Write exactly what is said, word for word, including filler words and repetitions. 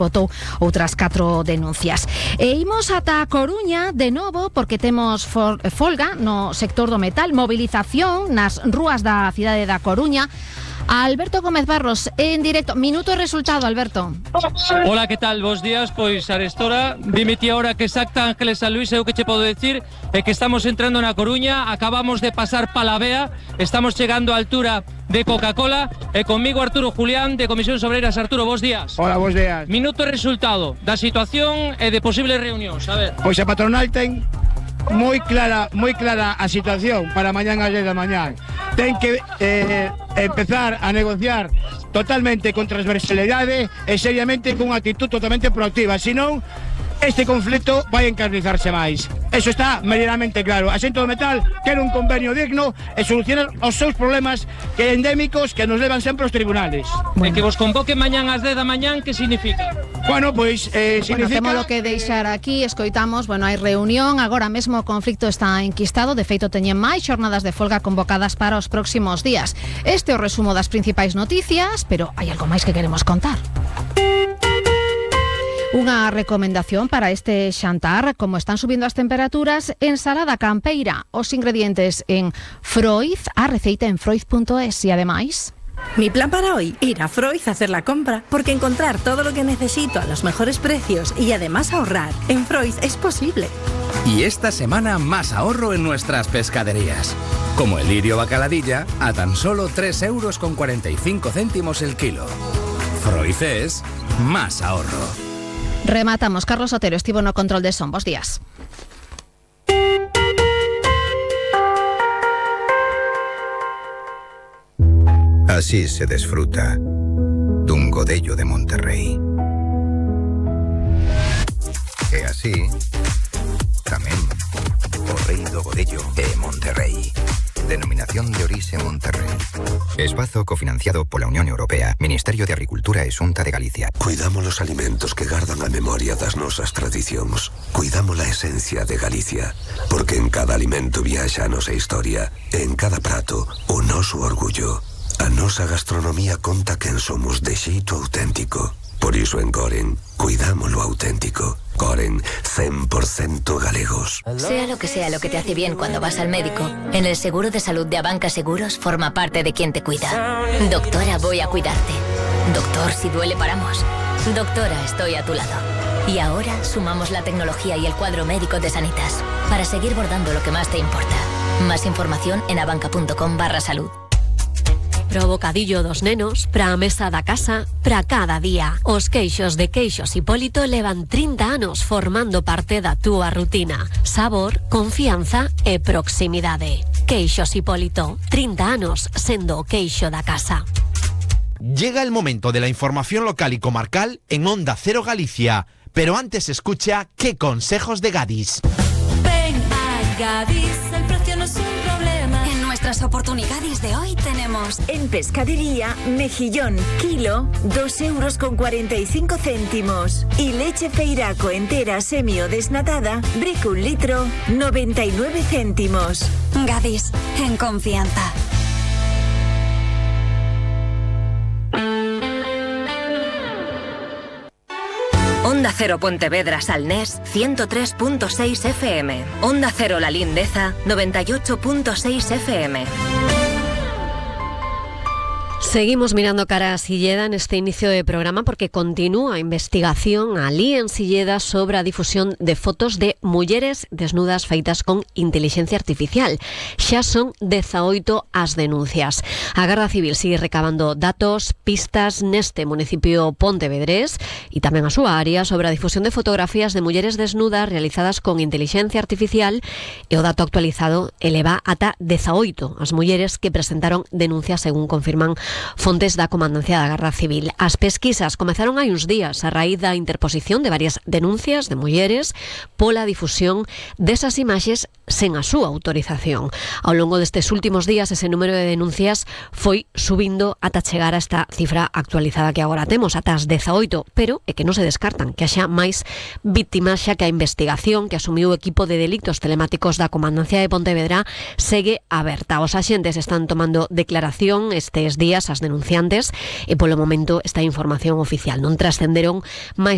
botou outras catro denuncias. E imos ata a Coruña de novo porque temos for, folga no sector do metal, movilización nas rúas da cidade da Coruña. Alberto Gómez Barros en directo. Minuto e resultado, Alberto. Hola, que tal? Bos días. Pois arestora, dime ti a hora que exacta, Ángeles San Luis, eu que che podo decir é que estamos entrando na Coruña, acabamos de pasar Palavea, estamos chegando á altura de Coca-Cola e conmigo Arturo Julián de Comisións Obreiras. Arturo, bos días. Hola, bos días. Minuto e resultado da situación e de posibles reunións, a ver. Pois a patronal ten moi clara, moi clara a situación para mañán ás dez da mañán. Ten que eh, empezar a negociar totalmente con transversalidade e seriamente cunha actitud totalmente proactiva, senón este conflito vai encarnizarse máis. Eso está medianamente claro. A xente do metal quere un convenio digno e solucionar os seus problemas que endémicos que nos levan sempre aos tribunales. Bueno. E que vos convoque mañán ás dez da mañán, que significa? Bueno, pois eh, significa... Bueno, temos que deixar aquí, escoitamos, bueno, hai reunión, agora mesmo o conflicto está enquistado, de feito teñen máis xornadas de folga convocadas para os próximos días. Este é o resumo das principais noticias, pero hai algo máis que queremos contar. Unha recomendación para este xantar, como están subindo as temperaturas, ensalada campeira, os ingredientes en Froiz, a receita en froiz punto es e ademais... Mi plan para hoy, ir a Froiz a hacer la compra, porque encontrar todo lo que necesito a los mejores precios y además ahorrar en Froiz es posible. Y esta semana más ahorro en nuestras pescaderías, como el lirio bacaladilla a tan solo tres euros con cuarenta y cinco céntimos el kilo. Froiz es más ahorro. Rematamos. Carlos Otero estivo no control de son. Bos días. Así se desfruta dun godello de Monterrey. E así tamén o rei do godello é Monterrey. Denominación de orixe Monterrey. Espazo cofinanciado pola Unión Europea, Ministerio de Agricultura e Xunta de Galicia. Cuidamos los alimentos que gardan a memoria das nosas tradicións. Cuidamos la esencia de Galicia, porque en cada alimento viaxa a nosa historia, e en cada prato o noso orgullo. A nosa gastronomía conta quen somos de xeito auténtico. Por iso en Coren, cuidamos lo auténtico. Coren, cien por ciento galegos. Sea lo que sea lo que te hace bien cuando vas al médico, en el seguro de salud de Abanca Seguros forma parte de quien te cuida. Doctora, voy a cuidarte. Doctor, si duele paramos. Doctora, estoy a tu lado. Y ahora sumamos la tecnología y el cuadro médico de Sanitas para seguir bordando lo que más te importa. Más información en abanca.com barra salud. Pro bocadillo dos nenos, pra a mesa da casa, pra cada día. Os queixos de Queixos Hipólito levan trinta anos formando parte da túa rutina. Sabor, confianza e proximidade. Queixos Hipólito, trinta anos sendo o queixo da casa. Llega el momento de la información local y comarcal en Onda Cero Galicia. Pero antes escucha qué consejos de Gadis. Ven a Gadis, el precio no es un problema. En nuestras oportunidades de hoy tenemos... En pescadería, mejillón, kilo, dos euros con cuarenta y cinco céntimos. Y leche feiraco entera semi o desnatada, brick un litro, noventa y nueve céntimos. Gadis, en confianza. Onda Cero Pontevedra Salnés ciento tres punto seis F M. Onda Cero La Lindeza noventa y ocho punto seis F M. Seguimos mirando cara a Silleda en este inicio de programa porque continúa investigación alí en Silleda sobre a difusión de fotos de mulleres desnudas feitas con inteligencia artificial. Xa son dezaoito as denuncias. A Garda Civil sigue recabando datos, pistas neste municipio pontevedrés e tamén a súa área sobre a difusión de fotografías de mulleres desnudas realizadas con inteligencia artificial, e o dato actualizado eleva ata dezaoito as mulleres que presentaron denuncias, según confirman fontes da Comandancia da Garda Civil. As pesquisas comezaron hai uns días a raíz da interposición de varias denuncias de mulleres pola difusión desas imaxes sen a súa autorización. Ao longo destes últimos días ese número de denuncias foi subindo ata chegar a esta cifra actualizada que agora temos, ata as dezaoito, pero é que non se descartan que haxa máis víctimas, xa que a investigación que asumiu o equipo de delitos telemáticos da Comandancia de Pontevedra segue aberta. Os axentes están tomando declaración estes días as denunciantes e polo momento esta información oficial non trascenderon máis